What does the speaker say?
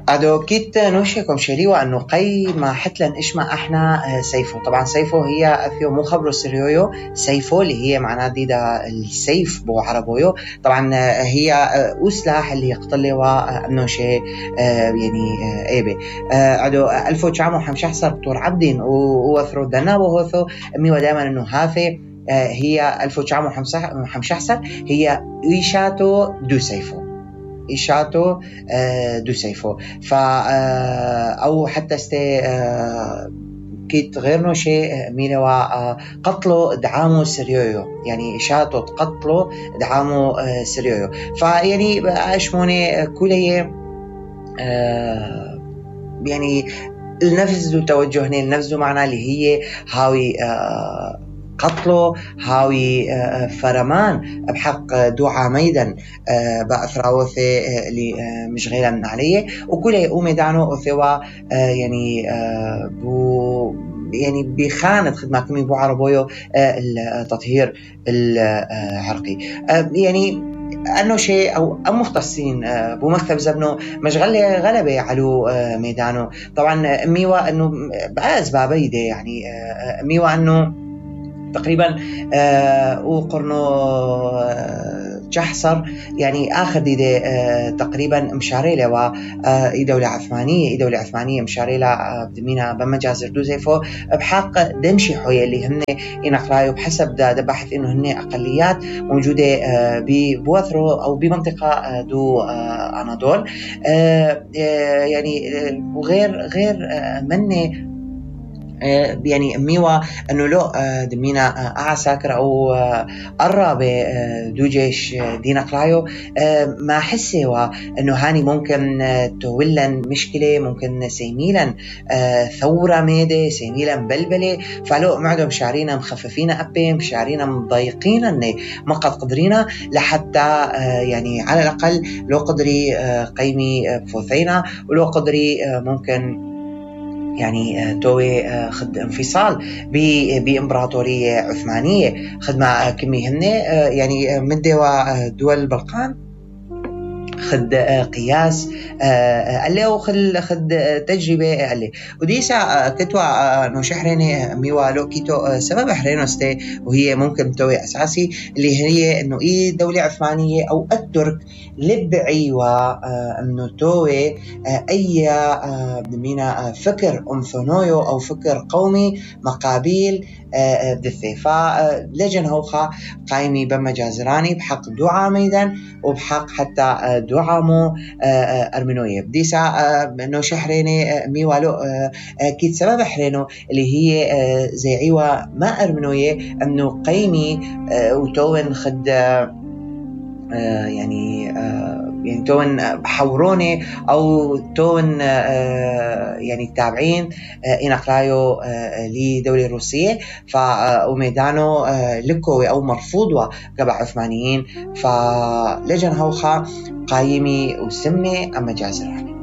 ادو كيت نوشيكم شليوا انه قي ما حتلن اشما احنا سيفو. طبعا سيفو هي افيو مو خبرو سريويو سيفو اللي هي معناه ديدا السيف بو عربويو. طبعا هي سلاح اللي يقتلوا انه شيء يعني ايبه ادو الفو تشامو حمشحصر بطور عبدين ووثرو دنا وهوثو ميوا دائما انه هافي هي الفو تشامو حمشحصر هي ايشاتو دو سيفو إيشاتو دو سيفو أو حتى كيت غير نو شيء ميلوا قتلوا دعامو سريويو يعني إيشاتو تقتلوا دعامو سريويو. فيعني أشموني كلية يعني النفس دو توجهني النفس دو معنى اللي هي هاوي قتلو هاوي فرمان بحق دو عاميدا بأثراوثي اللي مشغيلا عليه وكله يقوم دانو أثوا يعني بو يعني بخانة خدمة كمي بو عربويو التطهير العرقي يعني أنه شيء أو مختصين بمكتب زبنو مشغلة غلبة على ميدانه. طبعا ميوا أنه بأسباب بيدة يعني ميوا أنه تقريبا وقرنو جحصر يعني آخر ديدة تقريبا مشاريلة دولة عثمانية مشاريلة بدمينا بمجازر دوزيفو بحق دنشي حوية اللي هن ينقلايو بحسب ده بحث إنه هن أقليات موجودة ببوثرو أو بمنطقة دو أناضول يعني وغير مني يعني ميوا انه لو دمينا اعساكر او قرب دو جيش دينا قلايو ما حسوا انه هاني ممكن تولن مشكله ممكن سيميلا ثوره ميده سيميلا بلبله فلو معدهم شعرينا مخففين ابي شعرينا مضايقين اني ما قد قدرينا لحتى يعني على الاقل لو قدري قيمي فوثينا ولو قدري ممكن يعني توي خد انفصال بإمبراطورية عثمانية خدمة كمي هن يعني من دول البلقان خد قياس اللي وخد تجربة اللي وديسا كتوا نو شحريني ميوا لو كيتو سبب حرينوستي وهي ممكن توي أساسي اللي هي إنه دولة عثمانية أو الترك لبعيوا إنه توي أي بمينا فكر أمثونويو أو فكر قومي مقابل دثي فلجن هوخا قايمي بمجازراني بحق دعا ميدان وبحق حتى دعامو أرمينوية بديسا إنه شحريني ميوالو كيت سبب حرينو اللي هي زي عيوة ما أرمينوية إنه قيمي وتون خد يعني تون حوروني أو تون يعني تابعين إنقلايو لدولة روسية فأميدانو لكوي أو مرفوضوا قبع عثمانيين فلجن هوخا قايمي وسمي أما جازراني.